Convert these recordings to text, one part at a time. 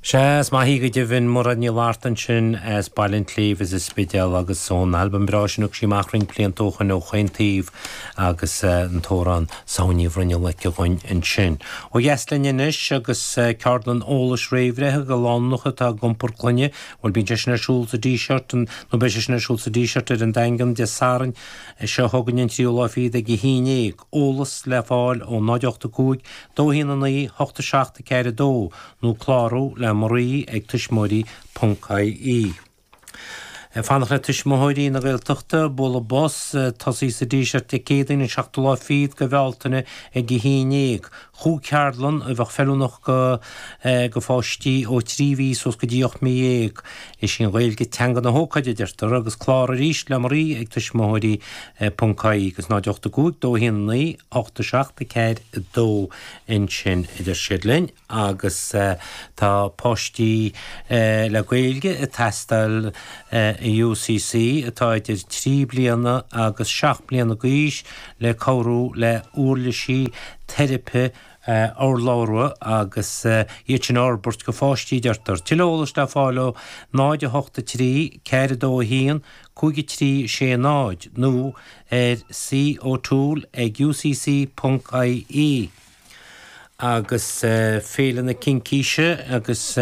Sea, is maith í go deimhin, Mairéad Ní Fhlatharta ansin as Baile an tSléibhe sa Spidéal agus ón albam breá sin a thug sí amach roinnt blianta ó shoin ó Chaon Taobh agus an t-amhrán Samhain Ní Bhruinneall aici dhúinn ansin. Ó dheas linn anois agus ceardlann eolais réamhbhreithe do lánúineacha atá ag iompar clainne, bhuel bíonn sé sin ar siúl sa Díseart, nó beidh sé sin ar siúl sa Díseart ar an Daingean Dé Sathairn seo chugainn an tríú lá fichead ag a haon dhéag. Eolas le fáil ó 0 8 5 2 1 9 8 7 4 2 nó clárú le Marie ag tuismitheoirí ponc ie. Ag fanacht le Tuismitheoirí na Gaeltachta, bualadh bos, tosaí sa Díseart Dé Céadaoin an seachtú lá fichead de Bhealtaine ag a haon dhéag. Chúig cheardlann a bheadh feiliúnach go go pháistí ó 3 mhí suas go dtí 18 mí. Is í an Ghaeilge teanga na hócáide a deirtear agus cláraigh arís le Marie ag tuismitheoirí ponc ie agus 0 8 5 2 1 9 8 7 4 2 ansin a deir siad linn. agus tá páistí le Gaeilge ag teastáil i UCC atá idir 3 bliana agus 7 mbliana d'aois le cabhrú le uirlisí teiripe urlabhra agus iad sin a fhorbairt go pháistí, deirtear. Tuilleadh eolais le fáil ó 0 8 3 4 2 1 5 3 6 0 nó ar c.o'toole ag ucc.ie. agus Féile na Cincíse agus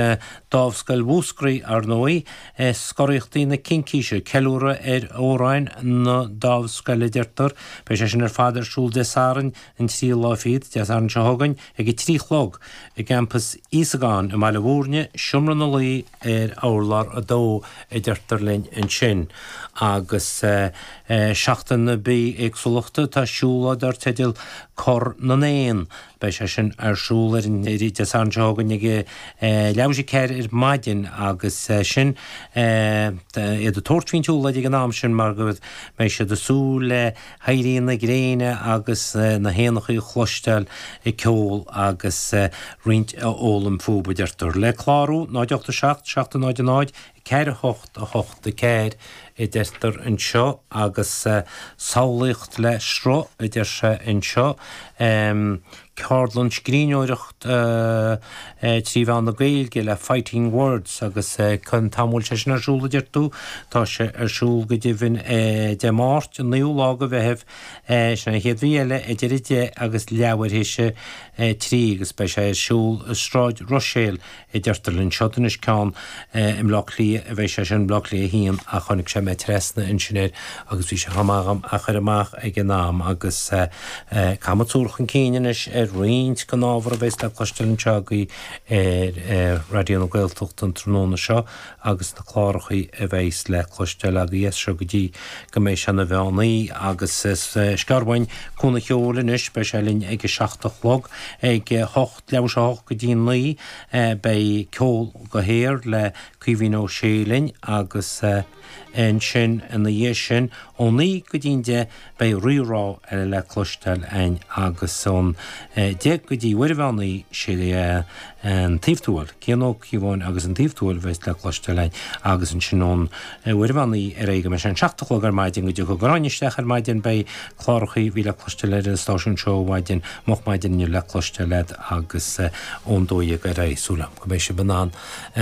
Dámhscoil Mhúscraí, ar ndóigh, Scoraíochtaí na Cincíse, ceiliúradh ar amhráin na Dámhscoile, a deirtear. Beidh sé sin ar fad ar siúl Dé Sathairn, an tríú lá fichead, Dé Sathairn seo chugainn, ag a 3 a chlog, i gCampas Íosagáin i mBaile Bhúirne, Seomra na Luí ar urlár 2, a deirtear linn ansin. Agus Seachtain na Bithéagsúlachta, tá siúlóid dar teideal Cor na nÉan. Beidh sé sin ar siúl ar an Dé Sathairn seo chugainn ag leathuair théis a 4 ar maidin agus sin iad ag tabhairt faoin tsiúlóid ag an am sin mar go mbeidh siad ag súil le héirí na gréine agus na héanachaí a chloisteáil ag ceol agus roinnt a fhoghlaim fúthu, a deirtear. Le clárú, 0 8 7 7 0 0 4 8 8 4 a deirtear anseo agus samhlaíocht le sruth a deir sé anseo. Ceardlann scríbhneoireacht trí mheán na Gaeilge le Fighting Words agus cén t-am a bhfuil sé sin ar siúl a deir tú? Tá sé ar siúl go deimhin Dé Máirt an 9ú lá de Mheitheamh, sin an chéad mhí eile, idir 10 agus leathuair théis 3 agus beidh sé ar siúl i Sráid Ruiséil a deirtear linn. Seo anois ceann i mBleá Cliath a bheidh sé sin, Bleá Cliath 1, ach chonaic sé mé trasna ansin air agus bhí sé chomh maith dhom a chur amach ag an am agus caithfidh muid súil chun cinn anois ar roinnt den ábhar a bheas le cloisteáil anseo agaibh ar Raidió na Gaeltachta an tráthnóna seo agus na clárachaí a bheas le cloisteáil agaibh as seo go dtí go mbeidh sé ina mheán oíche agus sciorr uainn Cúnamh Cheoil anois, beidh sé linn ag a 7 a chlog, ag 8. Leathuair théis a 8 go dtí 9 beidh ceol go haer le Caoimhín Ó Sé linn agus ansin ina dhiaidh sin ó 9 go dtí an 10 beidh Rí-Rá eile le cloisteáil againn agus ón 10 go dtí uair an mheán oíche sé an Taobh Tuathail, Cian Ó Cíobháin agus an Taobh Tuathail a bheas le cloisteáil againn agus ansin ón uair an mheán oíche ar aghaidh go mbeidh sé an 7 a chlog ar maidin go dtiocfaidh Gráinne isteach ar maidin beidh clárachaí a bhí le cloisteáil ar an stáisiún seo ó mhaidin, moch maidin inniu le cloisteáil agat agus ón 12 ar aghaidh. Súil agam go mbeidh sibh in ann,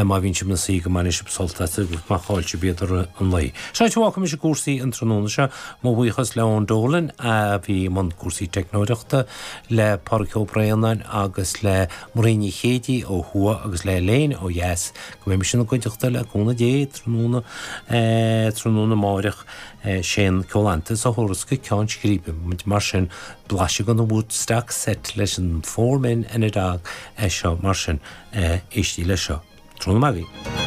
má bhíonn sibh ina suí, go mbainfidh sibh sult as agus má chaill sibh iad i rith an lae. Sin áit a bhfágfaidh mise cúrsaí an tráthnóna seo. Mo bhuíochas le Eoin Dolan a bhí i mbun cúrsaí teicneoireachta, le Pádraig Ó Braonáin agus le Marie Ní Chéidigh ó thuaidh agus le Elaine ó dheas. Go mbeidh mise ina gcuideachta le cúnamh Dé tráthnóna, tráthnóna amáireach. Sé an Ceolaitheantas a thabharfas go ceann scríbe muid mar sin, blaiseadh den Woodstock set leis an Four Men and a Dog é seo mar sin, éistigí leis seo. Tráthnóna maith agaibh.